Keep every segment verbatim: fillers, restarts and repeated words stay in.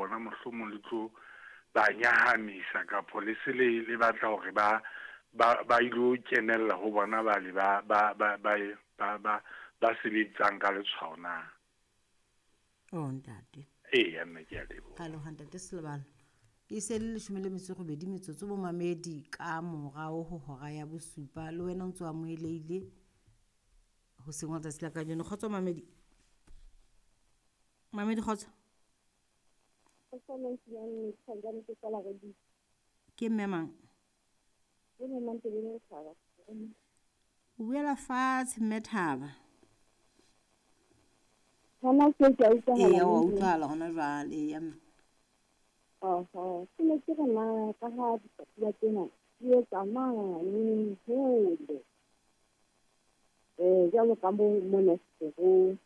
bona mohlomong le tlo ba nyahamisa kapo le se le le batla hore ba ba ba ilo kenella ho bona bale ba ba ba ba ba ba ba sebetsang ka letshwao na. Oh ntate. Eya mme ke a leboha. Ra leboha ntate Selebalo. E se le leshome le metso e robedi metsotso bo mamedi ka morao ho hora ya bosupa le wena o ntso amohelehile hoseng wa tsatsi la kajeno. Kgotso mamedi. Mamedi kgotso. Ke mme mang? O buela fatshe mme Thaba. Hona tje ke a utlwahala Eya wa mme. Utlwahala hona jwale, eya mme. Oho, ke ne ke re na ka ha dikatiba tsena di etsa mane hole. Eh jwalo ka mo mona setorong.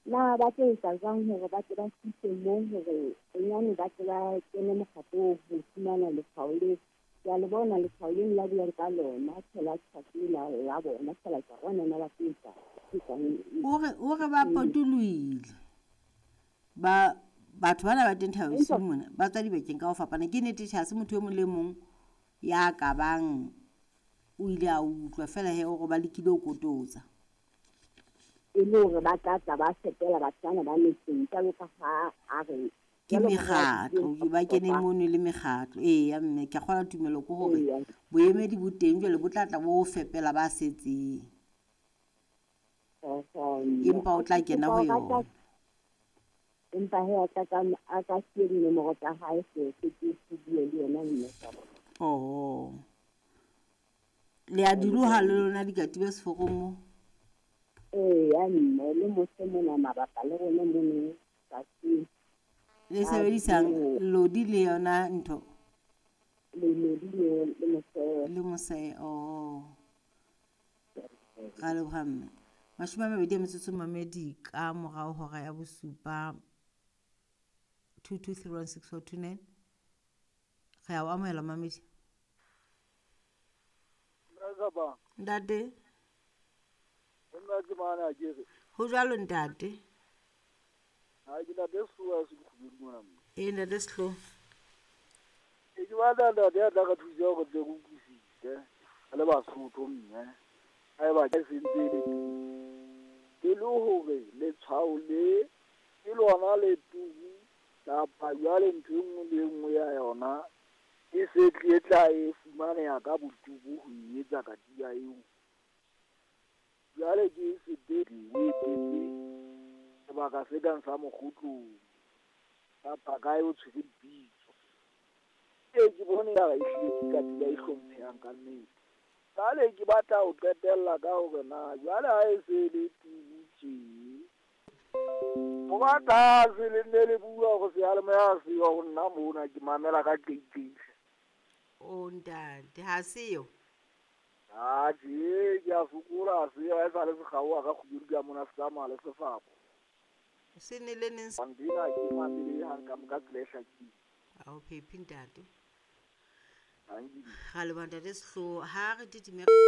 Na ba tlo etsa jwang hore ba tle ba fihle moo hore bonyane ba tle ba kene mokgatlong ho fumana letshwao leo. Ke a le bona letshwao leno la buang ka lona feela tjhaki la la bona feela ke a bona na ba tlo etsa etsang. O re o re ba potolohile. Ba batho bana ba teng Thaba Bosiu mona ba tswa dibakeng ka ho fapana. Ke nnete tjhe ha se motho e mong le mong ya ka bang o ile a utlwa feela he o re ba lekile ho kototsa. E le hore ba tla tla ba fepela batho bana ba metseng jwalo ka ha a re Ke jwalo ka ha mekgatlo ba keneng mono le mekgatlo. Eya mme ke a kgolwa tumelo ke hore Eya. Boemedi bo teng jwale bo tla tla bo fepela ba setseng. Oho mme. Empa o tla kena ho Ke kopa yona. Empa he a ka ka a ka siye dinomoro tsa hae se se ke ke bue le yena mme ka bona. Oho. Le a di loha le lona dikatiba seforong moo? Eya mme le mose mona mabapa le rona mono tsatsing. Le sebedisang lodi le yona ntho? Le lodi le le mose. Le mose, oh. Ra leboha mme. Mashome a mabedi a metsotso mamedi ka morao hora ya bosupa two two three one six four two nine. Re a o amohela mamedi. Ntate. Nna ke mane a ke re. Ho jwalo ntate. Ha ke ntate Sehloho a se dikgubedu mona mme. Ee ntate Sehloho. E ke batla ntate ya tla re thusa hore tle re utlwisise re le Basotho mme. Haeba ke se ntse e le e le hore letshwao le ke lona le turu kapa jwale ntho e nngwe le e nngwe ya yona e se tle tla e fumaneha ka boturu ho e etsa katiba eo. Jwale ke sepetlele o etetse sebaka se kang sa Mokgotlong kapa kae o tshwere pitso. Ee ke bone ekare ehlile ke katiba e hlomphehang ka nnete. Jwale ke batla ho qetella ka hore na jwale ha e se le turu tje. Ho ba tlase le nne le bua hore seyalemoya ha seyo ho nna mona ke mamela ka qeaqeo. O ntate ha seyo? Atjhe ke a sokola ha seyo ha esale se kgaoha ka kgubedu ka mona se tsamaya le sefako. Se ne le neng? Ntho ena ha ke mamele hang ka tsela e hlakileng. Ha o phephe ntate. Tanki. Ra leboha ntate Sehloho. Ha re titime.